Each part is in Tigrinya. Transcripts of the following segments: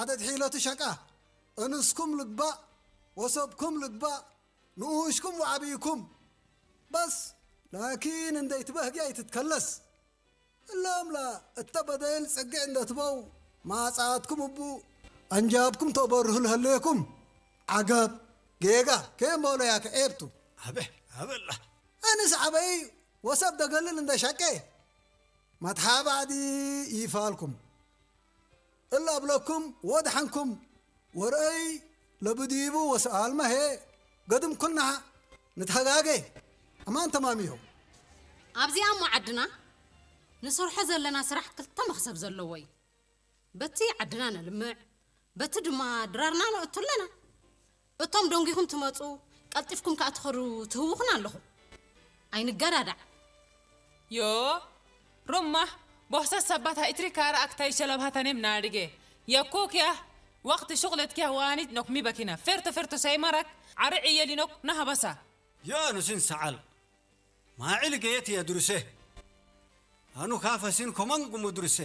ዓደድ ሒለቱ ሸቃ፣ እንስኩም ልግባእ፣ ወሰብኩም ልግባእ፣ ንኡሽኩም ወዓብይኩም። በስ ላኪን እንደይትበህጊ ኣይትትከለስ። እሎም ላ እተ በደል ጽግዕ እንደትበው ማጻትኩም እቡ ኣንጃብኩም ተበርሁ ለህለየኩም። ዓገብ ጌጋ ከየም በውለያ ከዔብቱ። ኣበ ኣበላ። ኣንስ ዓበይ ወሰብ ደገልል እንደ ሸቄ መትሓባዕዲ ይፋልኩም። እላ እብለኩም ወድሓንኩም ወርአይ ለብዲቡ ወሰኣልመ ሄ ገድም ኩልና ንትሃጋገ። ኣማን ተማሚሆ። ኣብዚኣ እሞ ዓድና ንሰርሖ ዘለና ስራሕ ክልተ መኽሰብ ዘለዎ እዩ። በቲ ዓድና ነልምዕ፣ በቲ ድማ ድራርና ነእቱ ኣለና። እቶም ደንጊኹም ትመጹ፣ ቀልጢፍኩም ከኣ ትኸዱ ትህውኹና ኣለኹም። ኣይንገዳዳዕ። Yo, rumma, bohsa sabbat ha itri kara aktai shalab hatanem nadige. Yakko kya, waqti shughlet kya wanit nok mi bakina. Ferto ferto sai marak, ari iyeli nok nahabasa. ያ ኑሲን ሰዓል ማዕል ገየት የድሩሴ ኣኑ ካፈሲን ኮመንጉሙ ድሩሴ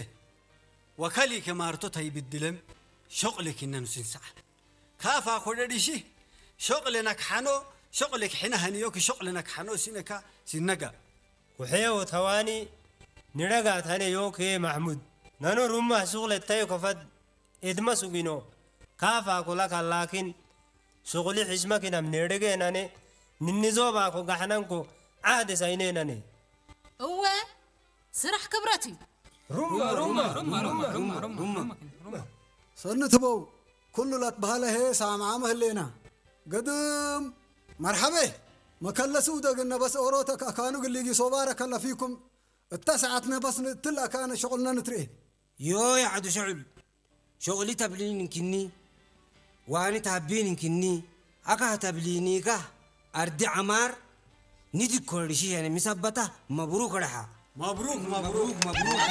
ወከሊ ከማርቶ ተይብድለም ሾቕሊ ኪነ ኑሲን ሰዓል ካፋ ኮደዲሺ ሾቕሊ ነክሓኖ ሾቕሊ ክሕነ ሃንዮ ክሾቕሊ ነክሓኖ ሲነካ ሲነጋ ኩሕዮ ተዋኒ ንረጋ ተነ ዮኬ ማሕሙድ ነኑ ሩማ ሹቕለ ተዮ ከፈድ ኤድመ ሱጊኖ ካፋ ኮላካ ላኪን ሹቕሊ ሕሽመኪናም ኔርጌ ነኔ ንንዞባኮ ጋሕነንኮ ዓህደ ሳይኔ ነኔ እወ ስራሕ ክብረት እዩ። ሩማ ሩማ ሰኒ ትበው ኩሉ ላትበሃለ ሄ ሳምዓ መህሌና ገድም መርሓበ መከለሲ ውደግን ነበስ ኦሮተ ከካኑ ግሊጊ ሶባረ ከለፊኩም እታ ሰዓት ነበስ ንእትል ኣካነ ሸቑልና ንትርኤ ዮ ያዕዱ ሸዑል ሾቕሊ ተብሊን እንክኒ ዋኒ ታቢን እንክኒ ኣካህ ተብሊኒካ ኣርዲ ዓማር ኒድኮ ርሽሸነ ሚሰበታ መብሩክ ረሓ መብሩክ መብሩክ መብሩክ